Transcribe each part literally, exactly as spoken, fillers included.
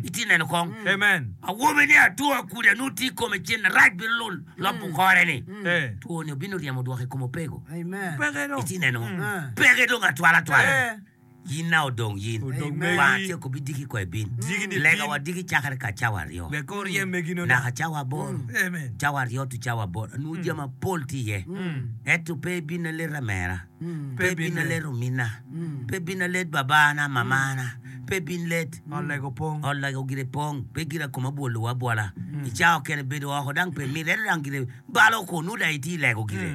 Itye neno kong? Amen. Awobi ni atwo akudi anu tye i kome cen rac bino lul lobo kore ni. Eh. Two ni obino ryemo dwoko i kom opego. Amen. Peke dong. Itye neno? Peke dong atwala atwala. Eh. Yin na odong yin. Odong Amen. Wa megi. tye ko bidiki ko ebin. Diki ni Lega bin. wa diki cakre ka cawa aryo. Wek kor ryem megi no. Naka cawa aboro. Amen. Cawa aryo tu cawa aboro. Anu jami mapol tye iye. Ento pe ibin alet amera. Pe ibin alet omina. Pe ibin alet babana, mamana. Pe ibin let. Olego pong. Olego gire pong. Pe gira koma bwolo abwola. I cawa kene bedo oko dang pe mit. Ento dang gire balo ko nu dang itye i lego gire.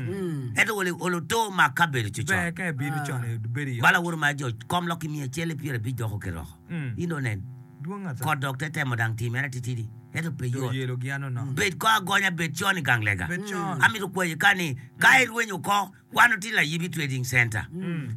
Ento olo olo to mak ka bedo Ber cucot. ka ibino con ibedo i ot. Bala woro ma jo kom lok imiyo acel pyera abic doko kiroko. Mm. In dong nen. Dwong ata. Kot dok te temo dang timere titidi. Ento pe Do yot. yelo gi ano no. Bed ko agonya bed con i gang lega. Bed con. Amito kwayi ka ni ka irwenyo ko wan otye Layibi Trading Center.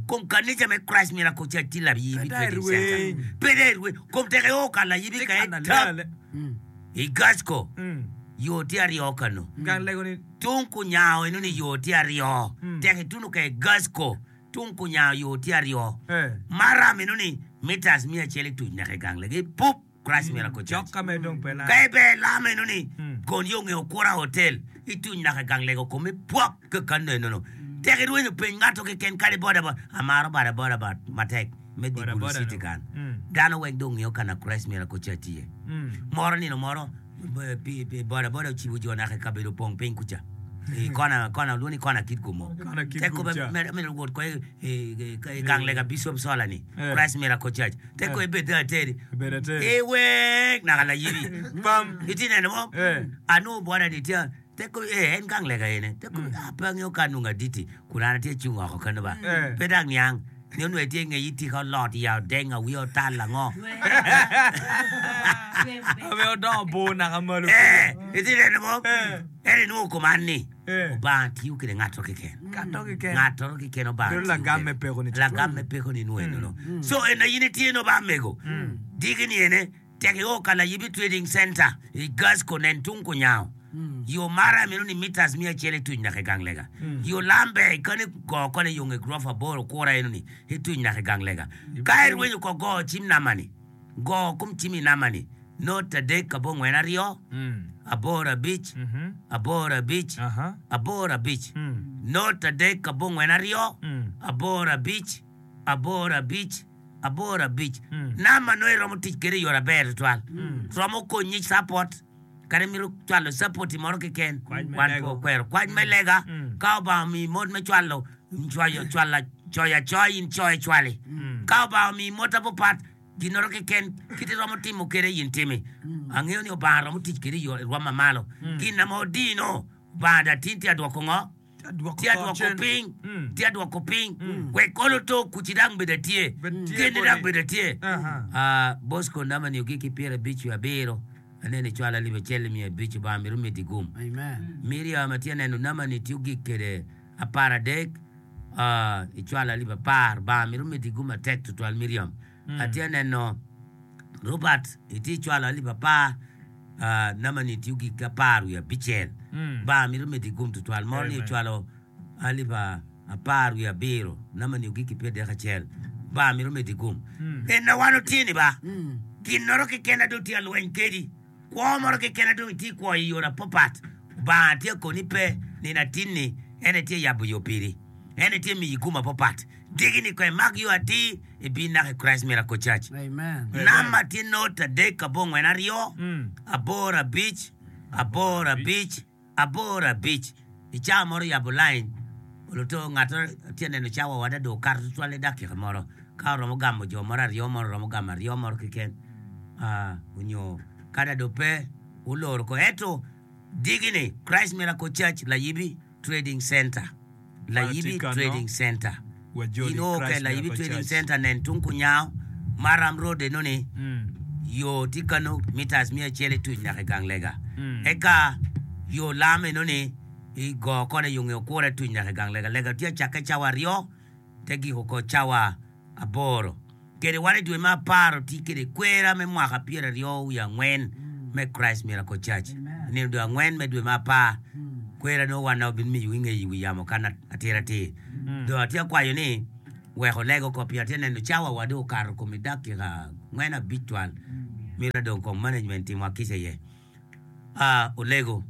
Kom kanisa me Christ Miracle Church tye Layibi Pe dai Trading Center. irweny. Pe dai irweny. Kom tek io ka Layibi Tye ka kana etap le ale. i Gasco. Mm. Yo tye aryo kano. Gang lego ni Tung kunyango eno ni yo tye aryo. Tek ituno ka i Gasco tung kunyango yo tye aryo. Eh. Maram eno ni meters mia acel ituc naka i gang lega. Ipup Christ Miracle Church. Cok ka me dong pe la. Ka ibe lam eno ni gon yo nge Okura Hotel ituny naka i gang lego kome pwok ka kano eno no. Tek irwenyo peny ngato keken kadi boda boda. Amaro boda boda ba matek me di Boda Gulu boda City no. kan. Mm. Dano weng dong ngeyo kana Christ Miracle Church tye. Mm. Moro nino moro eh, pi- pi- boda boda ocibo jo naka i kabedo opong piny kuca. I kona kona luongo ni kona kit gumo. Kona kit Tek ko gum cha. be mere wot ko i- i i gang lega Bishop Sola ni Eh. Christ Miracle Church. Tek ko ibed ateri. Ibed ateri. Iwek naka layibi. Pam. Iti neno mo? Eh. Anu boda ni tye tek ko eh en gang lega ene. Tek ko ah pe angeyo ka nunga diti kun an atye cung oko kano ba. Eh. Pe dang niang. Ni onwe tye ngeyi tika olot ya odenga wiye otal ango. Ame odongo bor naka malo. Eh, iti neno mo? Eh. En inwongo kom an ni. Eh. Obanga tiyo kede ngato keken. Kato keken. Ngato keken Obanga Bedo tiyo lagam kede. me peko ni Lagam me peko ni nwo eno no. So en in itye no ba mego. Diki ni ene tek i o ka Layibi Trading Center i Gasco nen tung kunyango. Yo mara meno ni meters mia acel ituny naka i gang lega. Yo lambe kani go kone yo nge grofa aboro kura eno ni ituny naka i gang lega. Ka irwenyo ko go cim nama ni. Go kum cim i nama ni. Not adek abongwen aryo. Mm. Aboro abic. Mhm. Aboro abic. Aha. Aboro abic. Mm. Not adek abongwen aryo. Mm. Aboro abic. Aboro abic. Aboro abic. Mm. Nama no iromo tic kede i yore aber tutwal. Romo konyi support. Kadi mito cwalo support moro keken. Kwac me Wan lego. po kwero. Kwac me lega. Mm. Ka Obanga omiyi mot me cwalo cwayo cwala coyo acoya in coyo cwali. Ka Obanga omiyi mot apopat ginoro keken kiti romo timo kede in timi. Angeyo ni Obanga romo tic kede i yo rwom mamalo. Gin na mo odino Obanga da tin tye adwoko ngo? Adwoko Tye adwoko cen. piny. Mm. Tye adwoko piny. Wek olo to kuci dang bedo atye. Bed tye Gene dang boti. bedo atye. Aha. Ah, Bosco nama ni ogik ki pyera abic wiye abiro. Aneno icwalo alip acel miya abic Obanga mito medi gum. Amen. Miriam atye neno nama ni tye ogik kede apar adek ah, icwalo alip apar Obanga mito medi gum matek tutwal Miriam. Atye neno Robert itye icwalo alip apar ah, nama ni tye ogik ki apar wiye abicel. Mm. Obanga mito medi gum tutwal. Moro ni Amen. ocwalo alip a- apar wiye abiro nama ni ogik ki pyera adek acel. Obanga mito medi gum. En na wan otye ni ba. Gin moro keken dong tye alweny kedi. Kwo moro keken dong itye kwo i yore apopat. Obanga tye koni pe nino atin-ni en tye yabo yo piri. En tye miyi gum apopat. Diki ni ko imak yo atir ibin naka i Christ Miracle Church. Amen. Namba tye not adek abongwen aryo Mm. aboro abic aboro abic aboro abic. I cawa moro yabo line oluto ngato tye neno cawa wada do okato tutwal i dakika moro. Ka oromo gamo jo moro aryo moro oromo gamo aryo moro keken. Ah, onyo kada do pe uloro ko ento digi ni Christ Miracle Church Layibi Trading Center. Layibi Kano. Trading Center. Wajoli In o ke Christ Layibi Miracle Trading Church. Center nen tung kunyango Maram Road eno ni Mm. yo tye kano meters mia acel ituc nyaka i gang lega. Mm. Eka yo lam eno ni i go kone yo nge okure tuc nyaka i gang lega. Lega tye acakke cawa aryo te giko ko cawa aboro. Kede wan i dwe me apar otye kede kwera me mwaka pyera aryo wiye angwen me Christ Miracle Church. Nino dwe angwen me dwe me apar kwera no wan na obin miyo ingeyi wi yamo kan atir atir. Do atye akwayo ni wek olego ko pi atye neno cawa wa dong okato kom i dakika angwen abic twal. Mito dong kong management timo akica iye. Ah, olego.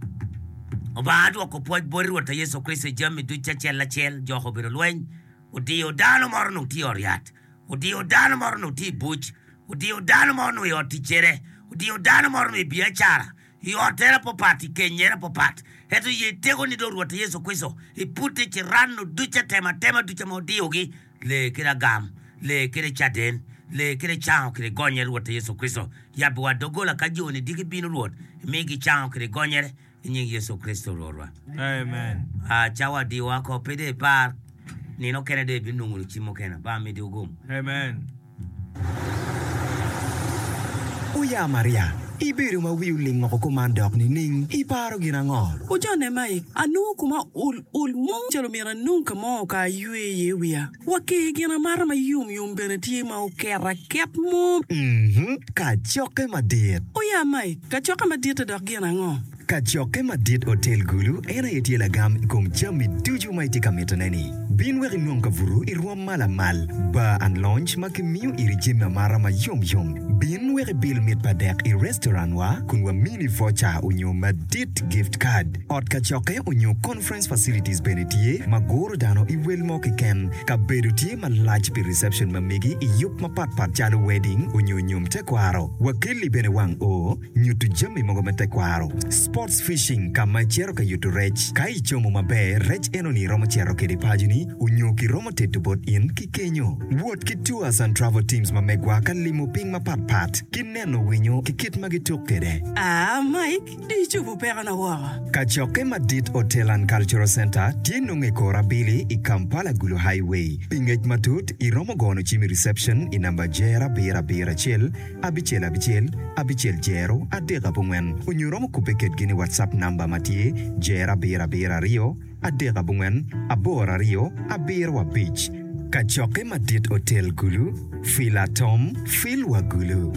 Obanga adwoko pwoc boti Rwot Yecu Kricito i jami ducu acel acel, joko obedo lweny, odiyo dano moro onongo tye i ot yat, odiyo dano moro onongo tye i buc, odiyo dano mo onongo i ot ticcere, odiyo dano moro onongo i biacara, i ottere apapat, i kenyere apapat. Ento ye tekoni dong Rwot Yecu Kricito, iputte ciranno ducu atematema ducu ma odiyogi, lee kede agam, lee kede caden, lee kede cango kede gonyere Rwot Yecu Kricito. Yabbiwa doggola ka jo-ni diki bino Rwot, imigi cango kede gonyere i nying Yecu Kricito Rwotwa. Amen. Ah, cawa adiwa ko pe dong ipar, nino okene dong ibinongo lucim mukene. Abanga miti ogum. Amen. Oya Maria, ibedo ma wi oling oko kuman dok nining? Iparo gin ango? Ojone Mike, anongo kuma ol ol mo calo myero anong ka mo ka aywe iye wiya. Wa ki gin amata ma yom yom bene tye ma oket aket mo. Mhm, kacokke madit. Oya Mike, kacokke madit-te dok gin ango? Kacokke madit Otel Gulu en aye tye lagam i kom jami ducu ma itye ka mitone-ni. Bin wek inong kabuto i rwom ma lamal, bar and lounge ma kimiyo iri jami amata ma yom yom. Bin wek ibil mit pa dek i restaurant wa kun wamini voucher onyo madit gift card. Ot kacokke onyo conference facilities bene tye ma guro dano i wel mo keken. Kabedo tye malac pi reception ma megi i yub mapat pat calo wedding onyo nyom tekwaro. Wakelli bene wang oo. Nyuto jami mogo me tekwaro. Sports fishing ka ma icito ka yuto rec. Ka icomo maber, rec enoni iromo cito kede paconi onyo kiromo teto bot in ki kenyo. Wot ki tours and travel teams ma megwa ka limo piny mapat pat ki neno winyo ki kit ma gituk kede. Aa, Mike, dong icobo pekona woko. Kacokke madit Hotel and Cultural Centre tye nongo i kor abili i Kampala Gulu Highway. Pi ngec matut, iromo gono cim i reception i namba jer abiro abiro acel abicel abicel abicel jero adek abongwen onyo iromo kubbe kedgi ni WhatsApp namba ma tye jero abiro abiro aryo adek abongwen aboro aryo abiro abic. Kacokke madit Otel Gulu, Fil Atom, Fil wa Gulu.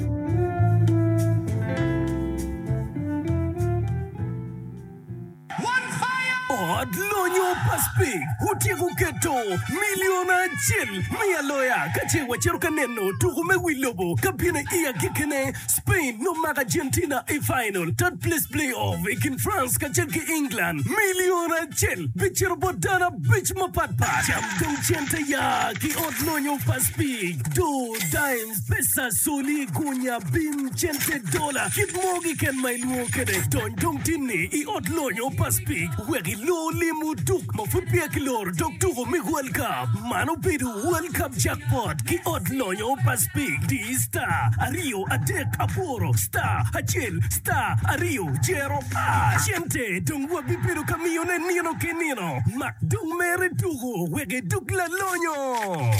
Ot lonyo pa Speke otyeko keto milion acel me aloya ka ce wacito ka neno tuko me wi lobo ka bino i agikkine. Spain nomako Argentina i final third place play-off i kin France kacel ki England. Milion acel bicito bot dano abic mapatpat. Cam dong cente ya ki ot lonyo pa Speke, doo, dimes, pesa, soli, gunya, bim, cente, dola, kit mo keken ma ilwongo kwede. Dony dong tinni i ot lonyo pa Speke wek ilo lim oduk ma pud peya kiloro dog tuko me World Cup. Man obedo World Cup Jackpot ki ot lonyo pa Speke. Di star aryo adek aboro star acel star aryo jero hash. Cente dong wabibedo ka miyone nino ki nino. Mak dong mere tuko wek iduk lalonyo.